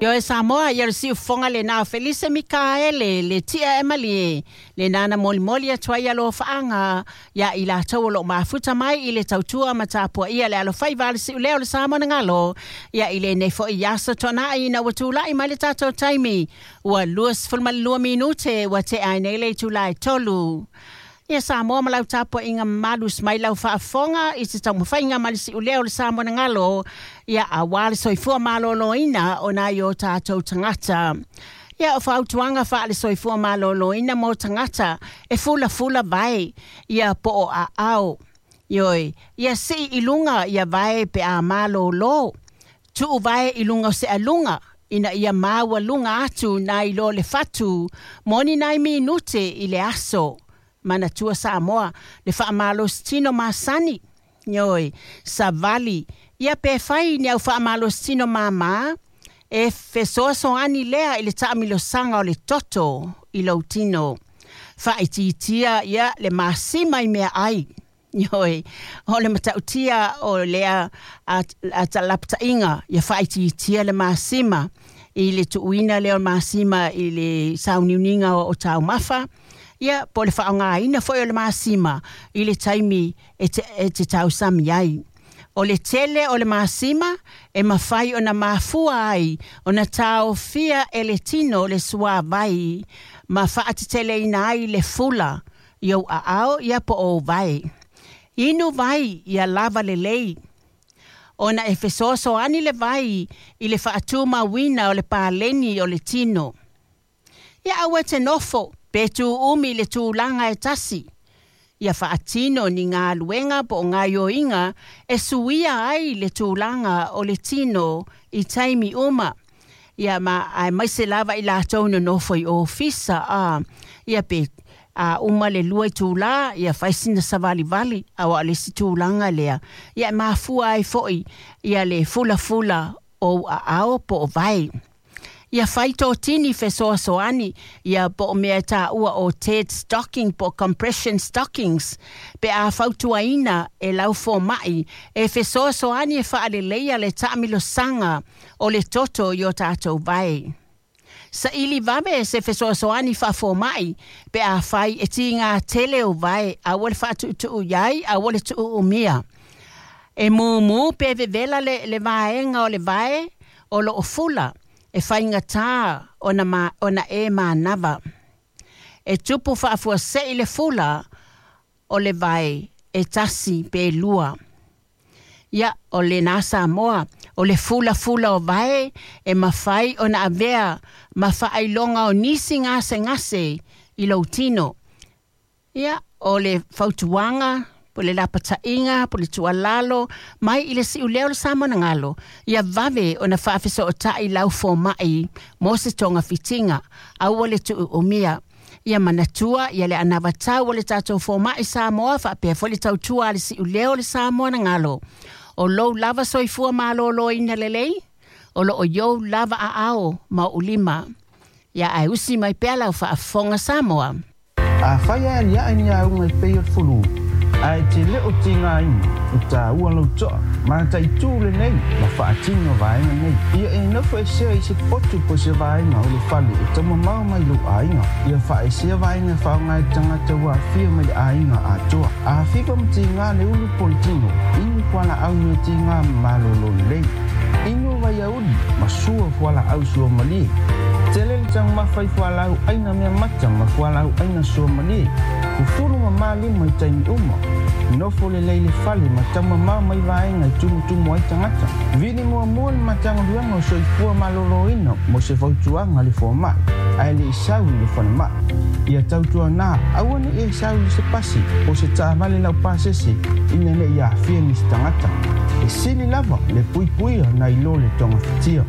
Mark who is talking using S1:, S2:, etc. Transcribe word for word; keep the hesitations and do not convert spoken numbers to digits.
S1: Ioe Samoa, ia le siufofoga lena o Felise Mikaele, le tia e malie, le nana molimoli atu ai alofaaga ia i latou o loo mafuta mai i le tautua ma tapuaia le alofaiva a le siuleo le Samoa na galo, ia i lenei foi aso Toonai ina ua tulai mai le tatou taimi, ua luasefulumalua minute ua tea ai nei le itula e tolu. Ia Samoa ma lau tapuaiga mamalu mai lau faafofoga i se taumafaiga ma le siuleo o le Samoa na galo, ia auā le soifua malōlōina o nai o tatou tagata. Ia o fautuaga faale-soifua malōlōina mo tagata e fulafula vae ia po o aao. Ioe, ia sii i luga ia vae pe a malōlō. Tuu vae i luga o se aluga, ina ia maualuga atu nai lo le fatu, mo ni nai minute i le aso. Manatua Samoa, le faamalositino masani. Ioe, savali, ia pe fai ni au faamalositino māmā, e fesoasoani lea i le taamilosaga o le toto i lou tino. Faaitiitia ia le masima i meaai. Ioe, o le matautia o lea lapataiga, ia faaitiitia le masima i le tuuina lea o le masima i le sauniuniga o taumafa, ia po o le faaaogaina foi o le masima i le taimi e te, e te tausami ai. O le tele o le masima e mafai ona mafua ai ona taofia e le tino le suāvai ma faateteleina ai le fula i ou aao ia po o ou vae. Inu vai ia lava lelei, ona e fesoasoani le vai i le faatumauina o le paleni o le tino. Ia aua e te nofo pe tuumi i le tulaga e tasi. Ia faatino ni galuega po o gaoioiga e suia ai le tulaga o le tino i taimi uma. Ia ma aemaise lava i latou nonofo i ofisa a ia pe a uma le lua itulā ia fai sina savalivali auā o le isi tulaga lea. Ia e mafua ai foi ia le fulafula o ou aao po o vae. Ia fai totini fesoasoani ia po o mea e taua o TED stocking po o compression stockings pe a fautuaina e lau fomai e fesoasoani e faaleleia le taamilosaga o le toto i o tatou vae. Saili vave se fesoasoani faafomai pe a fai e tigā tele ou vae, aua le faatuutuu i ai, aua le tuuumia. E mumu pe vevela le, le vaega o le vae o loo fula e faigatā ona, ma, ona e manava. E tupu faafuasei le fula o le vae e tasi pe lua. Ia, o lenā Samoa, o le fulafula o vae e mafai ona avea ma faailoga o nisi gasegase i lou tino. Ia, o le fautuaga, po le lapataiga, po le tuualalo, mai i le siuleo o le Samoa na galo, ia vave ona faafesootai lau fomai mo se togafitiga, aua le tuuumia. Ia manatua ia le anavatau o le tatou fomai Samoa faapea foi le tautua a le siuleo o le Samoa na galo. O lou lava soifua malōlōina lelei, o loo i ou lava aao ma ou lima. Ia ae usi mai pea lau faafofoga Samoa.
S2: Afai e aliae ni auga e pei o le fulu, ae e te le o tigaina, e taua lou toa, mataitu lenei ma faatino vaega nei. Ia e nofo esea i se potu po o se vaega o le fale e taumamao mai lou aiga. Ia faaesea vaega e faaaoga e tagata ua aafia mai le aiga atoa. A fiva ma tiga le ulu po le tino, inu fualaau meatiga ma malōlō lelei. Inu vaiauli ma sua fualaau suamalie. Tele le taumafa i fualaau aina mea mata ma fualaau aina suamalie. Fufulu ma malima i taimi uma. Nofo lelei le fale ma taumamao mai vaega e tumutumu ai tagata. Vili muamua le Matagaluega o Soifua Malōlōina mo se fautuaga a le fomai, ae le i sau i le falemai. Ia tautuanā, aua ne i e sau i se pasi po o se taavale laupasese ina ne i aafia nisi tagata. E sili lava le puipuia nai lo le togafitia.